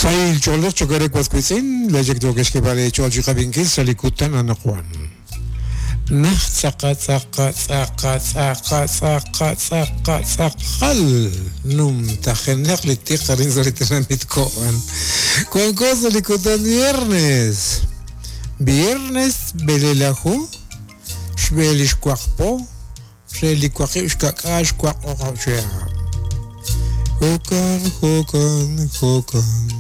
Sahil ch'oolej cho'q eere was wiitz'in, laa'ex yookex xk'eeb'al eech'ool chi qab'inkil sa' li kutan anaqwan. Naj tz'aqa tz'aqa tz'aqa tz'aqa tz'aqa tz'aqa tz'aqal numtajenaq li tiq arin sa' li tenamit Ko'an. Wanko sa' li kutan viernes. Viernes b'elelaju xb'e li xwaq po re li waqib' xka'k'aal xwaq o'q'ob' chihab'. Jo'kan, jo'kan, jo'kan.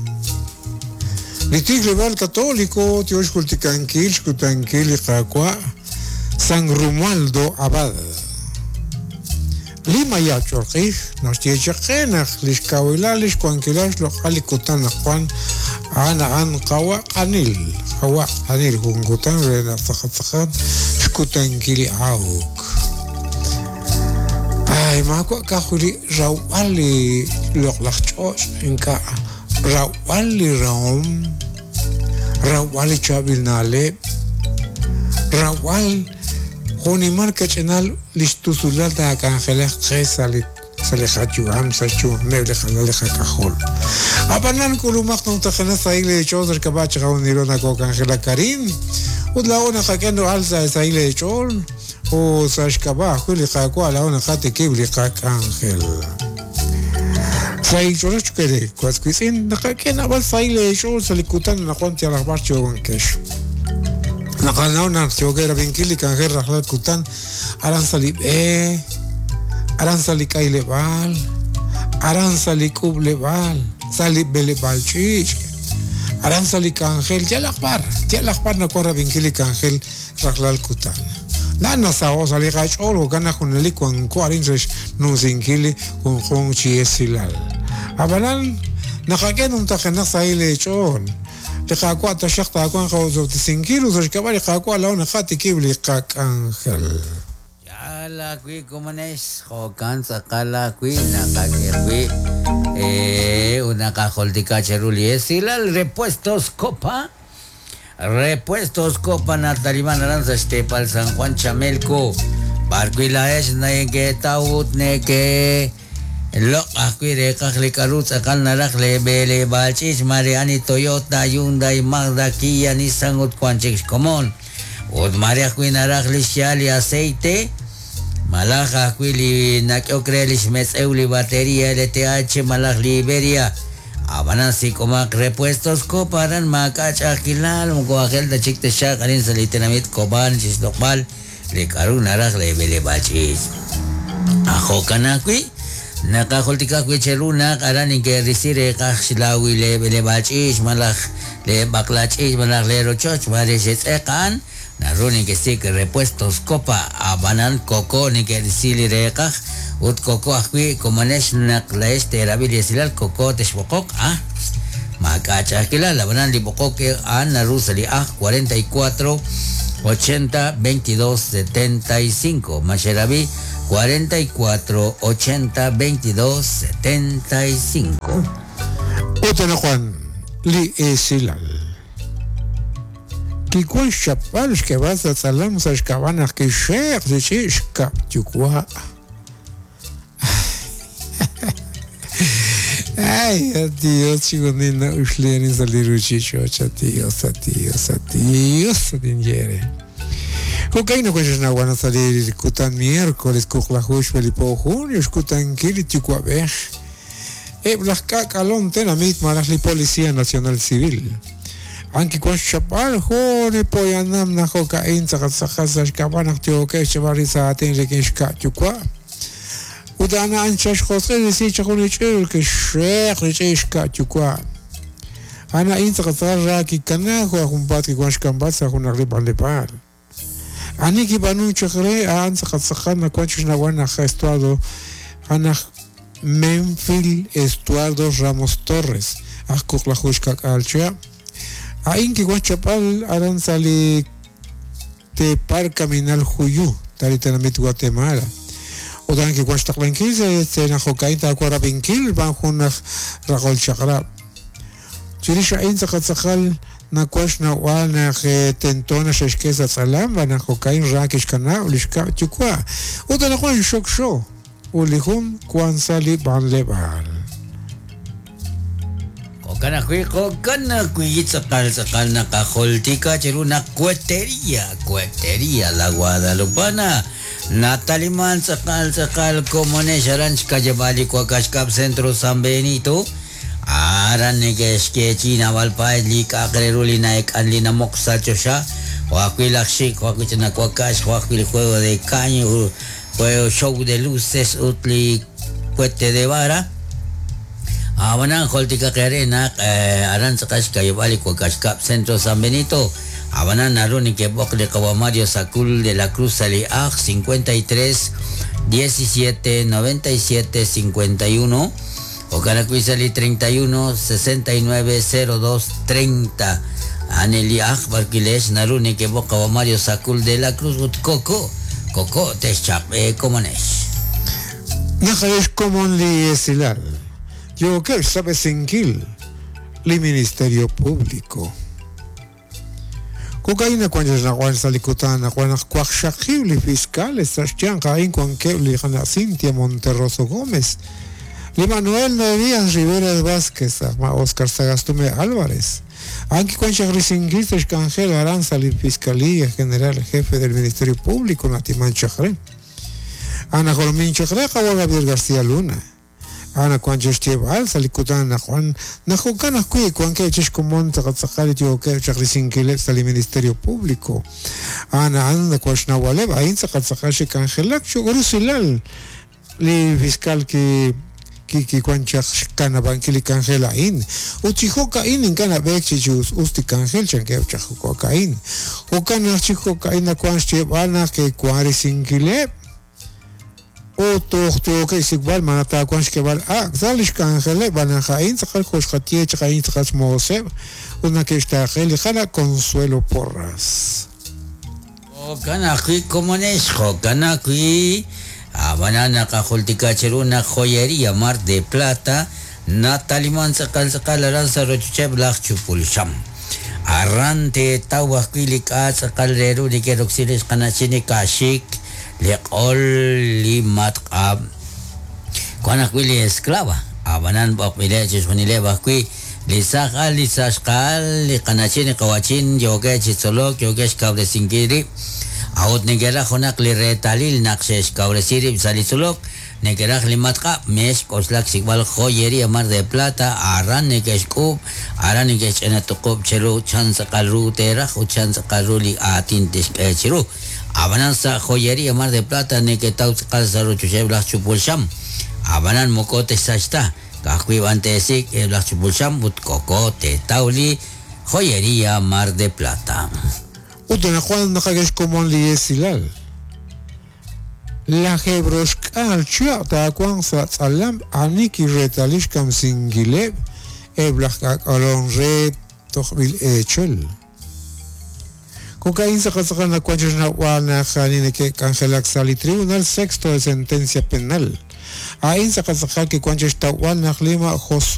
Li tijleb'aal Katoliko yo xjultikankil xkutankil li Qaawa' San Romualdo Abad. Li maya' ch'olq'ij naxye chaq qe naq li xkawilal li xwankilal xloq'al li kutan naq wan a'an a'an qawa' q'anil, qawa' q'anil jun kutan re naq tz'aqal tz'aqal xkutankil li awk. Ay, maawa' ka'ajwi' li rawb'al li loq'laj ch'och' ink'a' rawb'al li rahom, rawb'al li chaab'il na'leb', rawb'al jo'nimal kach'inal li xtusulal taak'anjelaq qe sa' li sa' li qayu'am, sa' xyu'ameb' li qalal li qak'ajol. Ab'anan k'ulumaq numtajenaq sahil eech'ool sa' xk'ab'a' chiqajunilo nakok'anjelak arin, ut laa'o naqak'e no'al sa' sahil eech'ool, ut sa' xk'ab'a' ajwi' li Qaawa' laa'o naqatikib' li qak'anjel. Sahil ch'oolej cho'q eere, was wiitz'in, naqak'e naab'al sahil eech'ool sa' li kutan anaqwan yalaq b'ar yoowankex. Naqanaw naq yookeb' rab'inkil li k'anjel rajlal kutan aran sa' li b'e, aran sa' li k'ayleb'aal, aran sa' li k'ub'leb'aal, sa' li b'eleb'aal ch'iich', aran sa' li k'anjel, yalaq b'ar, yalaq b'ar nawank rab'inkil li k'anjel rajlal kutan. Laa'an nasaho' sa' li qach'ool jo'kan naq junelik wanko arin re xnumsinkil li junjunq chi esilal. Ab'anan, naqak'e numtajenaq sahil eech'ool. Li Qaawa' taxaq taawanq qosob'tesinkil ut sa' xk'ab'a' li Qaawa' laa'o naqatikib' li qak'anjel. Yaal ajwi' komonex, jo'kan tz'aqal ajwi' naqak'e qib' ut naqajultika cheru li esilal Repuestos Copa. Repuestos Copa nataliman aran sa' xteepal San Juan Chamelco, b'arwi' laa'ex neke'taw ut neke Loq' ajwi' reeqaj li k'a'ru tz'aqal naraj lee b'eleb'aal ch'iich', maare ani Toyota, Hyundai, Mazda, Kia, Nissan ut wan chik xkomon. Ut maare ajwi' naraj li xya'al li aceite, malaj ajwi' li nak'ehok re lix metz'ew li bateria LTH malaj li Iberia. A'b'anan sik'omaq repuestos Copa aran maak'a' ch'a'ajkilal, moko aajel ta chik texxaq arin sa' li tenamit Cobán chixloq'b'al li k'a'ru naraj lee b'eleb'aal ch'iich'. Aj jo'kan ajwi', naqajultika ajwi' cheru naq aran neke'risi reeqaj xlawil lee b'eleb'aal ch'iich' malaj lee b'aqla ch'iich' malaj lee rochoch, maare xetz'eq a'an, naru nekesik' repuestos Copa, a'b'anan koko neke'risi li reeqaj ut koko ajwi' komonex naq laa'ex teerab'i li esilal koko texb'oqoq, ah, Maak'a' ch'a'ajkilal, ab'anan li b'oqok a'an naru sa' li ajl 44 80 22 75. Ma xerab'i? 44 80 22 75. Ut anaqwan li esilal. Kiwan xchapb'al xk'eeb'al sa' tz'alam sa' xk'ab'a' naq kixxe'q li ch'i' xkab' yuwa'. Ay, a Dios, chixjunil na'uxli arin sa' li ruuchich'och', a Dios, a Dios, a Dios, tinye eere. Jo'kan naq xe'xnaw sa' li kutan miércoles wuqlaju xb'e li po junio xkutankil li yuwa'b'ej eb' laj k'aak'alom tenamit malaj li Policía Nacional Civil. A'an kiwan xchapb'al jun li poyanam naq jo'ka'in tz'aqal tz'aqal sa' xk'ab'a' naq yookeb' xchapb'al rib' sa' aatin rik'in xka' yuwa'. Ut a'an a'an chal xjosq'il risi chaq jun li ch'il kixxeq li ch'i' xka' yuwa'. A'an a'in tz'aqal tz'aqal ra kikana jo' aj junpaat kiwan xk'amb'al sa' junaq li b'anleb'aal. Ani kib'aanunk chaq re a'an tz'aqal tz'aqal nawan chi xnawb'al naq Estuardo a'an aj Memphil Estuardo Ramos Torres, aj wuqlaju xka'k'aal chihab'. A'in kiwan xchapb'al aran sa' li teepal Kaminal Juyu, ta li tenamit Guatemala. Ut a'an kiwan xtaqlankil sa' naq jo'ka'in taawanq rab'inkil xb'aan jun aj raqol chaq'rab'. Chirix a'in tz'aqal tz'aqal nawan xnawb'al naq tento naq xe'xk'e sa' tz'alam xb'aan naq jo'ka'in ra kixkanab' li xkab' yuwa'. Ut anaqwan xokxo ut li jun wank sa' li b'anleb'aal. Jo'kan ajwi' jo'kan ajwi' tz'aqal tz'aqal naqajultika cheru naq Cuetería, Cuetería La Guadalupana nataliman tz'aqal tz'aqal komonex aran xka'yab'aal li Wakax Kab' Centro San Benito aran neke'xyeechi'i naab'al paay li k'a'aq re ru li na'ek'an li namoq sa' choxa jo' ajwi' laj xik' jo' ajwi' ch'ina wakax jo' ajwi' li juego de caño juego show de luces ut li cohete de vara. Ab'anan jultikaq eere naq aran tz'aqal xka'yab'aal li Wakax Kab' Centro San Benito. Ab'anan naru nekeb'oq li qawa Mario Sacul de la Cruz sa' li aj 53 17 97 51 jo'kan ajwi' sa' li 31 69 02 30. A'an li aj b'arwi' leex naru nekeb'oq qawa Mario Sacul de la Cruz ut Koko Koko texchaq'b'e komonex. Naq xkomon li esilal yookeb' xsab'esinkil li Ministerio Público. Jo'ka'in wank xnawal sa' li kutan naq wan naq waqxaqib' li fiscales sa' xyanq a'in wankeb' li qana' Cintia Monterroso Gómez, li Manuel Noerías Rivera Vázquez, ma Oscar Sagastume Álvarez. A'an kiwan chaq risinkil sa' xk'anjel aran sa' li Fiscalía General Jefe del Ministerio Público natiman chaq re. Ana jolomin chaq re qawa Gabriel García Luna. Ana wank xyeeb'al sa' li kutan naq wan naq jo'kan ajwi' wankeb' chi xkomon tz'aqal yookeb' chaq risinkileb' sa' li Ministerio Público. Ana a'an nawan xnawaleb' a'in tz'aqal tz'aqal xe'k'anjelak cho'q rusilal li fiscal ki kiwan chaq xkanab'ankil li k'anjel a'in. Ut chi jo'ka'in ink'a' nab'eek chi us us li k'anjel chankeb' chaq jo'ka'in. Jo'kan naq chi jo'ka'in nawan xyeeb'al naq ke'wan risinkileb' ut toj yookeb' xsik'b'al ma taawanq xk'eeb'al ak' sa' li xk'anjeleb' b'an naq a'in tz'aqal jo' xqaye chaq a'in tz'aqal xmooseb' ut nake'xtaaqe li qana' Consuelo Porras. Jo'kan ajwi' komonex, jo'kan ajwi' ab'anan naqajultika cheru naq Joyería Mar de Plata nataliman tz'aqal tz'aqal aran sa' rochocheb' laj Chupulxam. Aran teetaw ajwi' li k'a' tz'aqal re ru neke'roksi li xqana'chin li ka'xik, li q'ol, li matq'ab'. Wan ajwi' li esclava, ab'anan b'oqb'ileb' chixjunileb' ajwi' li saaj al, li saxqa'al, li qana'chin, li qawachin yookeb' chi tzolok, yookeb' xkawresinkil rib'. A'ut neke'raj junaq li reetalil naq xe'xkawresi rib' sa' li tzolok, neke'raj li matq'ab', meex k'oxlak xsik'b'al Joyería Mar de Plata, aran neke'xk'uub', aran neke'xch'ina tuqub' cheru chan tz'aqal ru teeraj ut chan tz'aqal ru li aatin tixk'e cheru. Ab'anan sa' Joyería Mar de Plata neketaw tz'aqal sa' rochocheb' laj Chupulxam. Ab'anan moko texsach ta, ka'ajwi' b'an teesik' eb' laj Chupulxam ut koko teetaw li Joyería Mar de Plata. Ut anaqwan naqak'e xkomon li esilal. Laj Ebroxk'al chihab' taawanq sa' tz'alam ani kireetali xkamsinkileb' eb' laj k'aak'alom re tojb'il eechel. Jo'ka'in tz'aqal tz'aqal nawan chi xnawb'al naq ani neke'k'anjelak sa' li Tribunal Sexto de Sentencia Penal. A'in tz'aqal tz'aqal kiwan chi xtawb'al naq li ma' Josué.